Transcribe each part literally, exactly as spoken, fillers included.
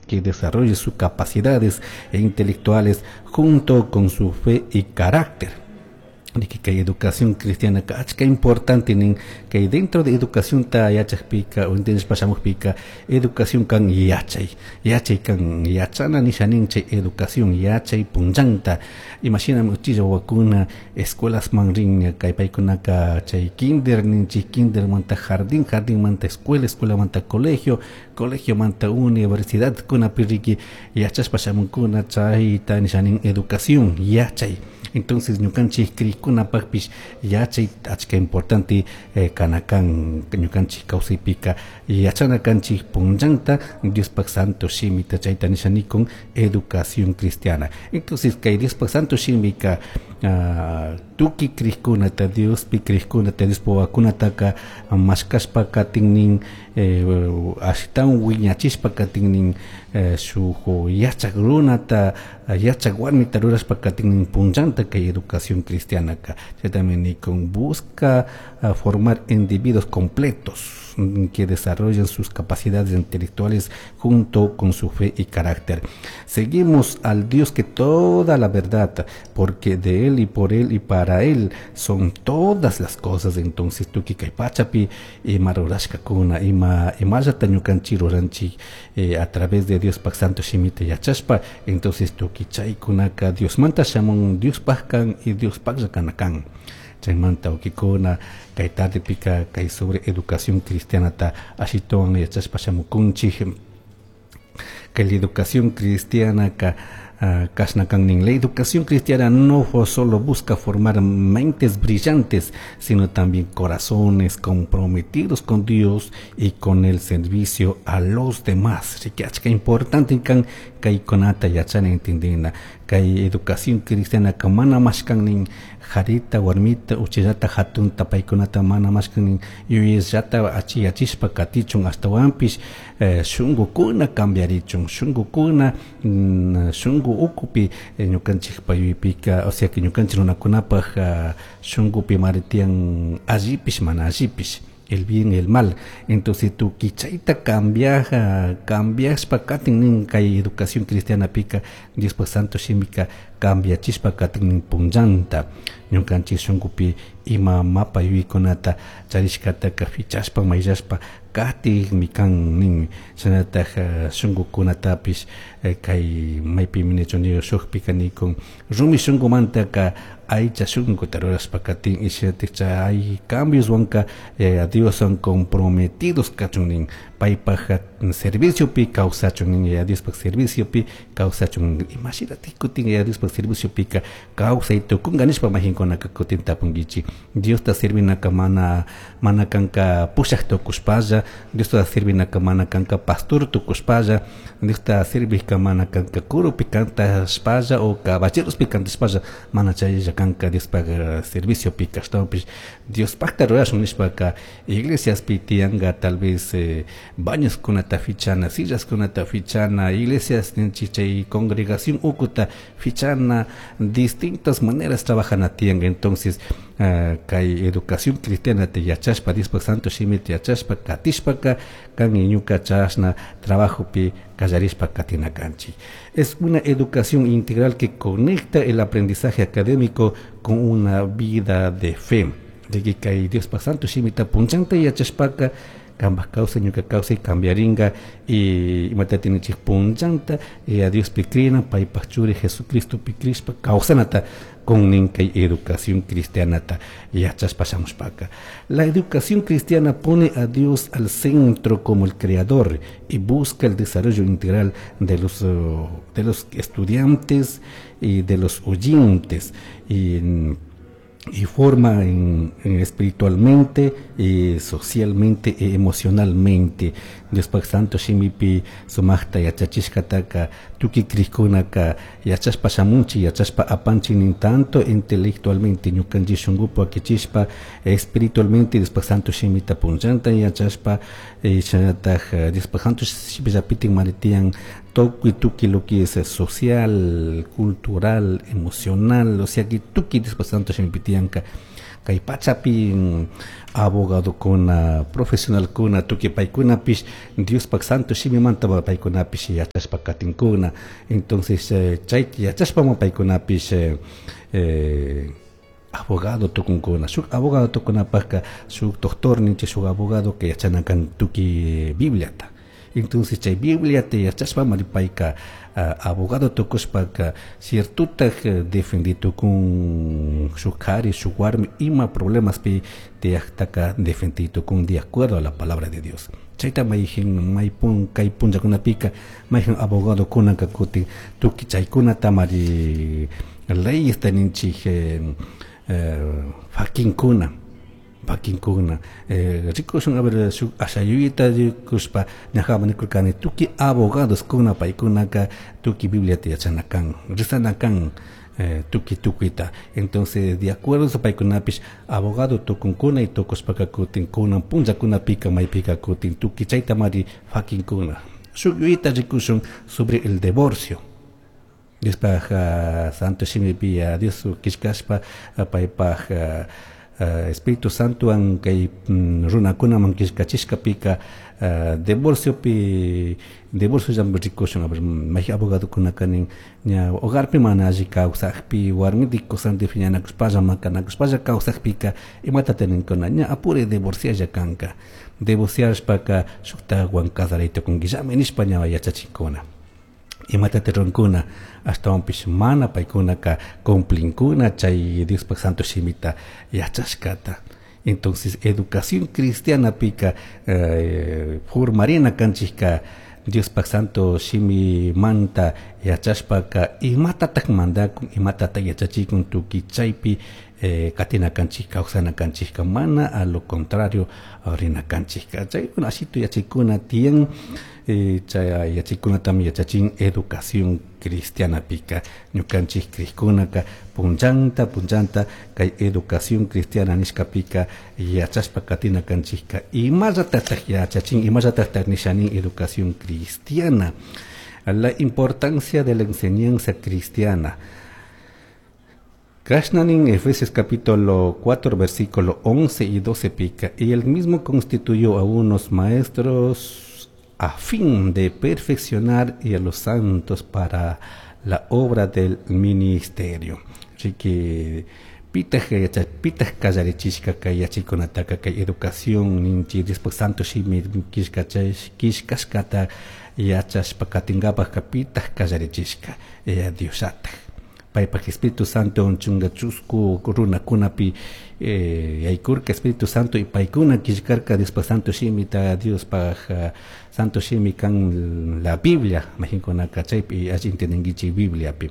Que desarrolle sus capacidades intelectuales junto con su fe y carácter. Kay educación cristiana achka importante nin. Kay dentro de educación ta yachakpika o entendishpa shamukpika, educación kan yachay, yachay kan yachana nisha nin. Chay educación yachay punllanta, imashinami uchilla wawakuna escuelasman rin, kay paykunaka chay kinder ninchik, kindermanta jardín, jardinmanta escuela, escuelamanta colegio, colegiomanta universidad kunapi riki yachashpa shamunkuna. Chayta nisha nin educación, yachay. Entonces ñukanchik krikkunapakpish yachay achka importante eh, kana kan. Ñukanchik kawsaypika yachana kanchik punllanta Diospak santo shimita. Chayta nisha nikun educación cristiana. Entonces kay Diospak santo shimika uh, tukuy krikkunata, Diospi krikkunata, Diospa wawakunataka mashkashpa katin eh, ashtawan wiñachishpa katin, eh, shuk yachak runata, yachak warmita rurashpa katin punllanta kay educación cristianaka. Chaytami nikun busca uh, formar individuos completos que desarrollen sus capacidades intelectuales junto con su fe y carácter. Seguimos al Dios que toda la verdad, porque de Él y por Él y para Él son todas las cosas. Entonces, tukuy kay pachapi ima rurashkakuna, ima imallata ñukanchik ruranchik eh, a través de Diospak santo shimita yachashpa, entonces tukuy chaykunaka Diosmanta shamun, Diospaj kan y Diospajlla kana kan. Chaymanta, wawkikuna, kay tardepika kay sobre educación cristianata ashitawan yachashpa shamukunchik. Kay la educación cristiana ka uh, kashna kan nin: la educación cristiana no solo busca formar mentes brillantes, sino también corazones comprometidos con Dios y con el servicio a los demás. Así que achka importante kan kaykunata yachana, entendina. Kay educación cristiana ka mana mashkan nin jarita, warmita, uchillata, hatunta, paykunata mana mashkan nin yuyayllata achiyachishpa katichun, ashtawanpish eh, shungukuna cambiarichun, shungukuna mm, shungu ukupi eh, ñukanchikpa yuyaypika, o sea que ñukanchik runakunapaj uh, shungupi mari tiyan allipish mana allipish, el bien y el mal. Entonces tukuy chayta cambiaja, cambiashpa katin nin kay educación cristiana pika, Diospa santo shimika cambiachishpa katin nin punllanta ñukanchik shunkupi ima mapa yuyaykunata charishkataka fichashpa, mayllashpa katikmi kan nin. Shinallatak shunkukunatapish eh, kay maypimi nichun shukpika nikun rumi shunkumantaka aycha shunkuta rurashpa katin y shinallatak chay cambioswanka eh, Dioswan comprometidos kachun nin, paypaj serviciopi kawsachun nin, Yaya Diospaj serviciopi kawsachun. Imashinatik kutin Yaya Diospaj serviciopika kawsay tukunka nishpa maykankunaka kutin tapunkichik. Diosta servinaka mana mana kanka pushak tukushpalla, Diosta servinaka mana kanka pastor tukushpalla, Diosta servijka mana kanka coropi cantashpalla o caballerospi cantashpalla, mana chaylla kanka Diospaj serviciopika. Ashtawanpish Diospajta rurashun nishpaka iglesiaspi tiyanka tal vez eh, bañoskunata fichana, sillaskunata fichana, iglesias ninchik chay congregación ukuta fichana, distintas maneras trabajana tiyanka. Entonces uh, kay educación cristiana te yachashpa, Diospaj santo shimita yachashpa katishpaka kan ñuka chashna trabajopi kallarishpa katina kanchik. Es una educación integral que conecta el aprendizaje académico con una vida de fe. De que kay Diospaj santo shimita punchanta yachashpaka kambaj kawsay, ñuka kawsay cambiaringa. Y imata tininchik punchanta a Diospi crina, paypaj churi Jesucristopi crishpa kawsanata kun nin kay educación cristianata yachashpa shamushpaka. La educación cristiana pone a Dios al centro como el creador y busca el desarrollo integral de los, de los estudiantes y de los oyentes y y forma en, en espiritualmente y socialmente e emocionalmente. Diospaj santo shimipi sumajta yachachishkataka tukuy krikkunaka yachashpa shamunchik, yachashpa apanchik nin, tanto intelectualmente ñukanchik shunkupi wakichishpa, espiritualmente Diospaj santo shimita punllanta yachashpa, shinallatak Diospaj santo shimillapitik mari tiyan tukuy tukuy lo que es social, cultural, emocional, o sea que tukuy Diospaj santo shimipi tiyanka. Kay pachapi abogadokuna, profesionalkuna, tukuy paykunapish Diospaj santo shimimanta paykunapish yachashpa katinkuna. Entonces chayta yachashpama paykunapish eh, abogado tukunkuna. Shuk abogado tukunapajka shuk doctor ninchik, shuk abogado que yachana kan tukuy Bibliata. Entonces chay Bibliata yachashpamari payka abogado tukushpaka ciertotaj defendi tukun shuk kari, shuk warmi ima problemaspi tiyajtaka defendi tukun de acuerdo a la palabra de Dios. Chayta mayjin maypun kay punllakunapika mayjin abogado kunaka kutin tukuy chaykunatamari leyesta ninchik eh, fakinkuna fakinkuna eh, rikushun a ver shuk ashayuyta rikushpa ñajaman nikurkani tukuy abogados kuna paykunaka tukuy Bibliata yachana kan, rezana kan eh, tukuy tukuyta. Entonces de acuerdo a paykunapish abogado tukunkuna y tukushpaka kutin kunan punllakunapika maypika kutin tukuy chaytamari fakinkuna. Shuk yuyayta rikushun sobre el divorcio. Diospaj uh, santo shimipi uh, Dios killkashpa uh, paypaj uh, uh, Espíritu Santowan kay mm, runakunaman killkachishkapika uh, divorciopi divorcio llami rikushun. A ver, mayjin abogadokunaka nin ña hogarpi mana alli kawsakpi warmiti kusanti phiñanakushpalla makanakushpalla kawsakpika imatata ninkuna ña apure divorcialla kanka, divorciashpaka shuktawan casaray tukunkillami nishpa ña yachachinkuna. Imatata runkuna ashtawanpish mana paykunaka cumplinkuna chay Diospaj santo shimita yachashkata. Entonces educación cristiana pika eh, formarina kanchika Diospaj santo shimimanta yachashpaka imatatak mandakun, imatatak yachachikun tukuy chaypi eh, katina kanchik, kawsana kanchikka, mana a lo contrario rina kanchikka. Chay ashitu yachaykuna tiyan, eh, chay yachaykunatami yachachin educación cristiana pika. Ñukanchik krikkunaka punllanta punllanta kay educación cristiana nishkapika yachashpa katina kanchikka imallatatak yachachin, imallatatak nishanin educación cristiana. La importancia de la enseñanza cristiana. Kashnanin Efesios capítulo cuatro versículo once y doce pica, y él mismo constituyó a unos maestros a fin de perfeccionar y a los santos para la obra del ministerio. Así que pitaj pitaj kallarichishka kay yachikunataka kay educación ninchi después santo shimi killkashkata yachashpa katinkapajka pitaj kallarichishka eh, Dioshataj. Paypaj Espíritu Santo chunga chusku runakunapi eh, yaykurka Espíritu Santo y paykuna killkarka Diospaj santo shimita, Diospaj uh, santo shimi kan la Biblia mayjinkunaka chaypi alli entendinkichik Bibliapi,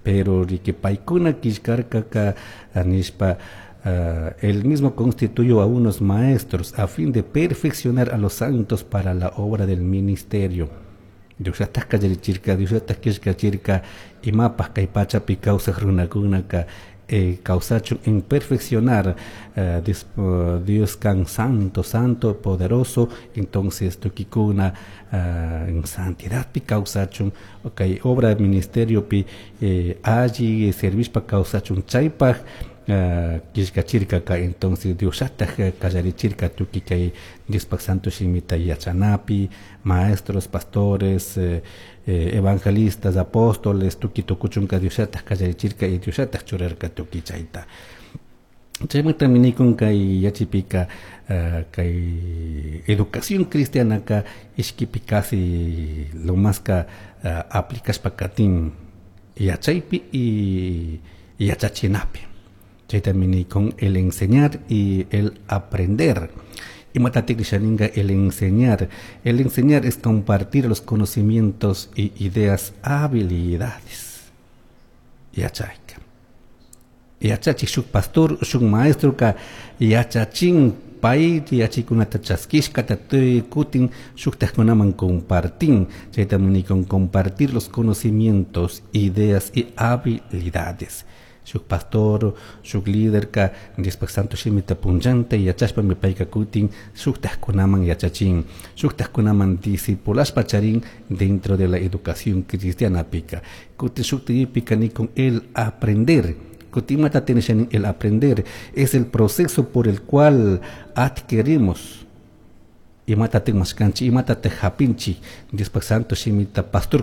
pero riki paykuna killkarkaka nishpa Uh, él mismo constituyó a unos maestros a fin de perfeccionar a los santos para la obra del ministerio. Diosllataj kallarichirka, Diosllataj killkachirka imapaj kay pachapi kawsaj runakunaka eh, kawsachun en perfeccionar uh, Dios, uh, Dios kan santo, santo, poderoso. Entonces tukikuna uh, en santidad pi kawsachun, okay, obra del ministerio pi eh, alli servishpa kawsachun chaypaj Uh, killkachirkaka. Entonces Diosllataj kallarichirka tukuy kay Diospaj santo shimita yachanapi, maestros, pastores, eh, eh, evangelistas, apóstoles, tukuy tukuchunka Diosllataj kallarichirka y Diosllataj churarka tukuy chayta. Chaymantami nikun kay yachipika uh, kay educación cristianaka ishkipi casi lo más ka uh, aplicashpa katin yachaypi y yachachinapi. Chaytami nikun el enseñar y el aprender. Imatatik nishaninga el enseñar. El enseñar es compartir los conocimientos y ideas, habilidades. Yachayka. Yachachik shuk pastor, shuk maestro ka yachachin pay yachikunata chaskishkata kutin shuktajkunaman compartin. Chaytami nikun compartir los conocimientos, ideas y habilidades. Shuk pastor, shuk líder ka Diospaj santo shimita punllanta yachashpami payka kutin shuktajkunaman yachachin, shuktajkunaman discipulashpa charin dentro de la educación cristiana pika. Kutin shuktaypika nikun el aprender. Imata el aprender es el proceso por el cual adquirimos imata mashkanchik imata japinchik Diospak santo shimita pastor.